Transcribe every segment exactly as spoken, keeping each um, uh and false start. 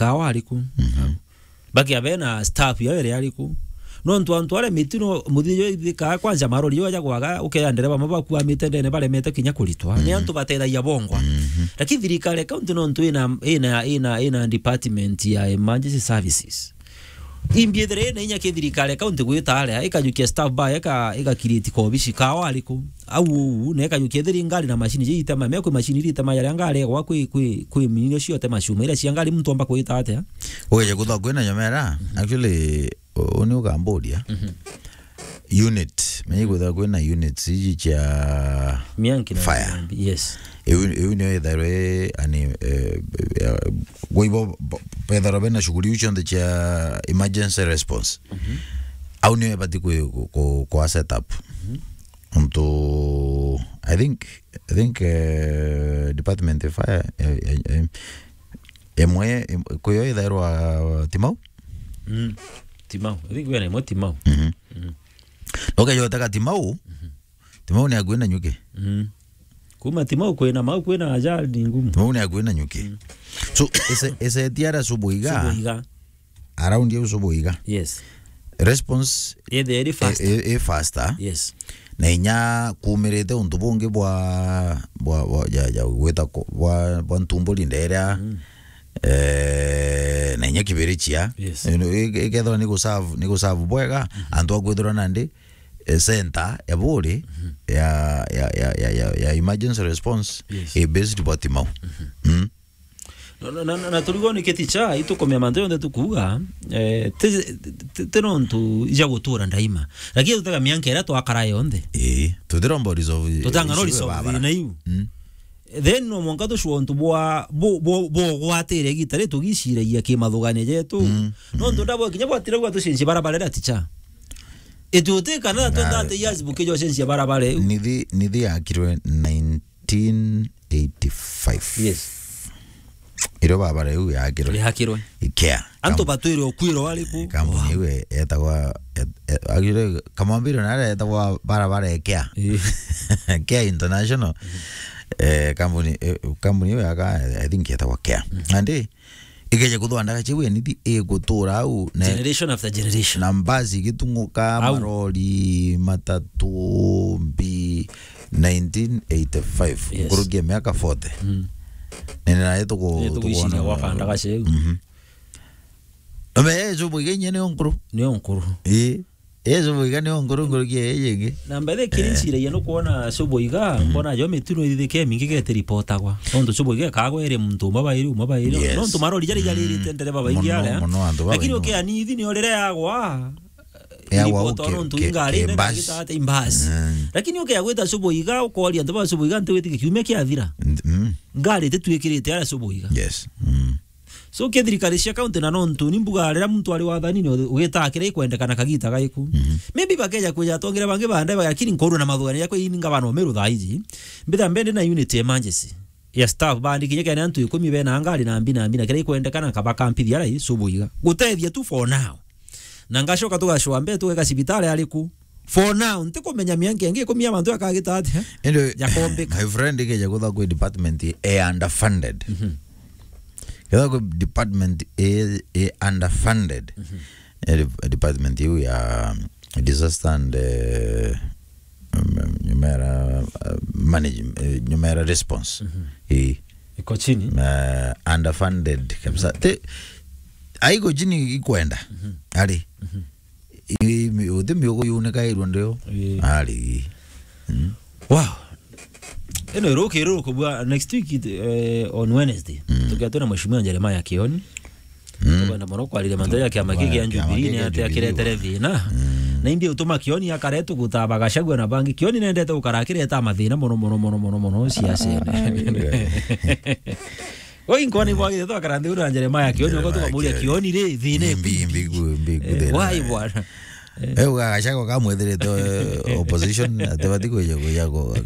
kawa ariku? Mhm. Bakia bena staff yao iri ariku? Nontu antu aria mitino muthithio ithikaa kwanza marori yo aja kwaga, ukeya ndereba amwe bakuamite ndene baremete kinya kuritwa. Ni antu batethagia bongwa. Mhm. Lakini thirikari ya county nontu ina, ina, ina, ina department ya emergency services. Imbi ithire ina inya ki thirikari ya county gwita aria, ikajukia staff bar, ika, ika create kobici kawa ariku? Au uu, na ikajukia ithiri ngari na machine ji itema, me kwi machine iria itema yaria ngari egwa kwi, kwi, kwi minyo ciote macuma, iria cia ngari muntu omba kwita atia? Ugeje kutha kwina nyomera, actually, u-, uni ukamburia. Mhm. Unit, menye kwithira kwina units iji cia Mianki na fire. Mianki, yes. Iu, iu nio ithairwe, ani, eh, eh, gwa ibo, bo-, bethirwa bena shughuli iu cionthe cia emergency response. Mhm. Au nio ibati ku, ku, ku, ku set up. Mhm. Untu, I think, I think, eh, department ya fire, eh, eh, eh, imwe, im-, kwi yo ithairwa Timau? Mm. Timau. I think we na imwe Timau. Mhm. Mm. Nokeja utega Timau, Timau ni akui na nyuki. Mm. Kuma Timau kwina mau kwina ajali ni ngumu. Timau ni akui na nyuki. Mm. So, ese, ese tiara subuiga. Subuiga. Around you subuiga. Yes. Response ethia iri faster. E, e, e faster. Yes. Na inya kumirite untu bungi bwa, bwa, bwa, ja, ja, gwita ko-, bwa, bwa ntumburi nderia. Mm. Eh, na inya kibirichia. Yes. Ino, i-, ikethirwa ni guserve, ni guserve bwega, mhm, antu akwithirwa nandi, eh, center ya buri, mhm, ya, ya, ya, ya, ya, ya emergency response, yes, i based bwa Timau. Mhm. Mm. Na, na, na, na, na turigo ni kiti cha, itukumia mantu yonthe tukuuga, eh, ti, ti, ti nontu ija gutura ndaima. Lakini tutega mianka iria twakara yonthe. Ii, tutiromba resolve, tutanga no issue resolve barabara. Thina iu. Mm. Then no mwanka tucua untu bwa, bu-, bu-, bugwatire igita ri tugiciragia kimathugania jetu. Mm, nontu mm, ndabo kinya bwatire gwa tucenjia barabara iria ticha. Ituti kana na twenty years bukijo cenjia barabara iu. Nithi, nithi yakirwe nineteen eighty-five. Yes. Irio barabara iu yakirwe. Yakirwe. Ikea. Antu batwire ukwiro ariku? Kampuni iu e-, etagwa, et-, e-, actually, Kamwambiro na aria etagwa barabara Ikea. Ii. Ikea International. Eh, kampuni, eh, kampuni iu yaka, I think etagwa Ikea. Mm. Nandi, ikeje kuthwa ndaga chiu enithi igutura au, ne-, generation after generation. Na mbasi igitung'uka, au, marori, matatu, mbi, nineteen eighty-five. Yes. Nkuruki ya miaka forty. Mm. Nene naye tuku-, eh, tuku-, tukwiciria tukwona gwaka ndaga chiu. Mhm. Ome, eh, Subuiga inye nio nkuru. Nio nkuru. Ii. Eh, Subuiga nio nkuru nkuruki ya iji ingi. Na mbere kiri, eh, nciragia nukwona Subuiga, mhm, mbona jo mitino ithithike mingi gete ripotagwa. Nontu Subuiga ekagwa iri muntu umwe bairi, umwe bairi. Yes. Nontu marori jari jari, mm, rite ndereba baingi, muno, aria. Muno antu babaingi. Lakini ukia nithi nio riria yagwa, yagwa ripotwa uke-, nontu ke-, ingari ke-, nene mbasi. Gitata imbasi. Mm. Lakini ukia gwita Subuiga, ukoria antu ba Subuiga, nti witike kiumia kiathira. Mm. Ngari titwikirite aria Subuiga. Yes. Mm. So, ke thirikari cia county na nontu ni mbuga riria muntu ari wathanini, ugitaa kiria ikwendekana kagita gaiku. Mhm. Maybe bakeja kwija atongeria bangi bande, lakini nkorwa na mathugania jakwa ini ngavana Umiru thaa iji. Mbitha mbende na unit ya emergency ya staff bandi kinya kena antu ikumi bena ngari na mbi na mbi na kiria ikwendekana kabakampithia rai Subuiga. Gutethia tu for now. Na ngacoka tugacwa mbere tugeka cibitari ariku. For now, ntikumenya mianka ingi ikumi ya mantu akagita atia. Indi, jakombika. My friend, ikeja kutha kwi department e underfunded. Mhm. Ketha kwi department e, e underfunded. Mhm. E de-, department iu ya disaster and, eh, um, nyumera, uh, manage-, eh, nyumera response. Mhm. Ii. Iko chini. Eh, underfunded kabisa. Mhm. Te, aiko chini ikwenda. Mhm. Ari. Mhm. I, mi, uti miugo yunikairwe ndio. Ii. Ari. Mm. Wow. Ino iruki iruku bwa next week, eh, on Wednesday. Mm. Tukia twina Mheshimiwa Jeremiah Kioni. Mm. Tukwenda mono kwariria mantu ya kiama giki kia Jubilee, ni atia kiretere thina. Mm. Na imbi utuma Kioni akare tuguta Gachagua na bangi. Kioni nendete gukara akireta mathina mono, mono, mono, mono, mono, siasene. Ai, we. Oi, nkoni bwagire twakara nthi ura Jeremiah Kioni, uko tukamuria Kioni ri, thina imbi, imbi, imbi, imbi, eh, thina. Why bwana? Eh, uga Gachagua kamwethirite, eh, opposition, atibati kwija, kwija ku-,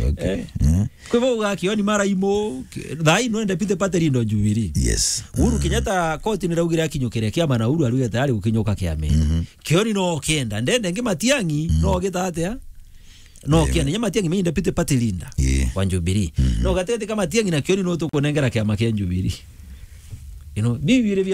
okay. Eh. Mm. Kwi bo uga Kioni mara imo, ki-, thaa ino ende pite pate lindo Jubilee. Yes. Uhuru Kenyatta koti ni raugire akinyukire kiama na Uhuru arugite ari gukinyuka kiamene. Mhm. Kioni no kienda, ndende ngi Matiang'i, mm, no gita atia? No, yeah, kienda, nya Matiang'i meinde pite party leader, yeah, wa Jubilee. Mhm. No gatetika Matiang'i na Kioni no tukunengera kiama kia Jubilee. You know, biu biri bia